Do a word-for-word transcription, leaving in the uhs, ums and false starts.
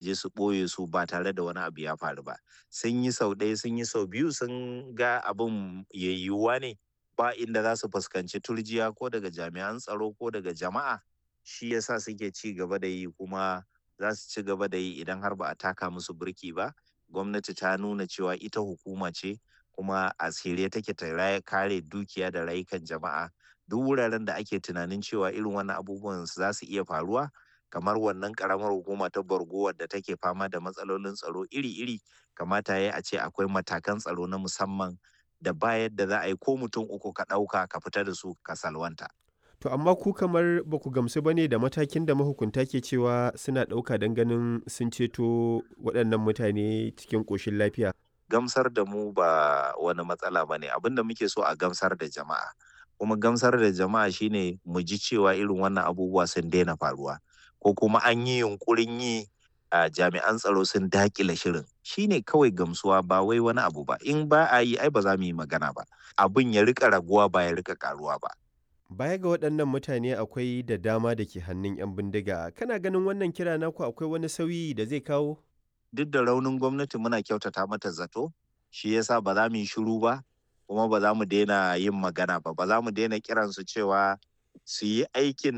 Je su ɓoye su ba tare da wani abu ya faru ba. Sun yi sau ɗaya, sun yi sau biyu, sun ga abin yayyuwa ne ba inda za su fuskanci turjiya ko daga jami'an tsaro ko daga jama'a, shi yasa suke ci gaba da yi, kuma za su ci gaba da yi idan har ba a taka musu birki ba. Gwamnati ta nuna cewa ita hukuma ce, kuma a shirye take ta kare dukiya da rayukan jama'a. Duk wuraren da ake tunanin cewa irin wannan abubuwan za su iya faruwa, kamar wannan karamar hukuma ta Borgo wadda take fama da matsalolin tsaro iri-iri, kamata ya a ce akwai matakan tsaro na musamman da ba yadda za a yi ko mutum uku ka ɗauka ka fita da su ka salwanta. To amma ku kamar ba ku gamsu ba ne da matakin da mahukunta ke cewa suna ɗauka don ganin sun ceto waɗannan mutane cikin ƙoshin lafiya. Gamsar da mu ba wani matsala ba ne, abin da muke so a gamsar da jama'a. Kuma gamsar da jama'a shine mu ji cewa irin wannan abubuwa sun daina faruwa, ko kuma an yi yunƙurin yi a jami'an tsaro sun daƙile shirin. Shine kawai gamsuwa, ba wai wani abu ba. In ba a yi, ai ba za mu yi magana ba. Abin ya riƙa raguwa ba ya riƙa ƙaruwa ba. Baya ga waɗannan mutane, akwai da dama da ke hannun 'yan bindiga. Kana ganin wannan kira naku akwai wani sauyi da zai kawo? Duk da raunin gwamnati, muna kyautata mata zato, shi yasa ba za mu yi shiru ba, kuma ba za mu daina yin magana ba, ba za mu daina kiransu cewa su yi aikin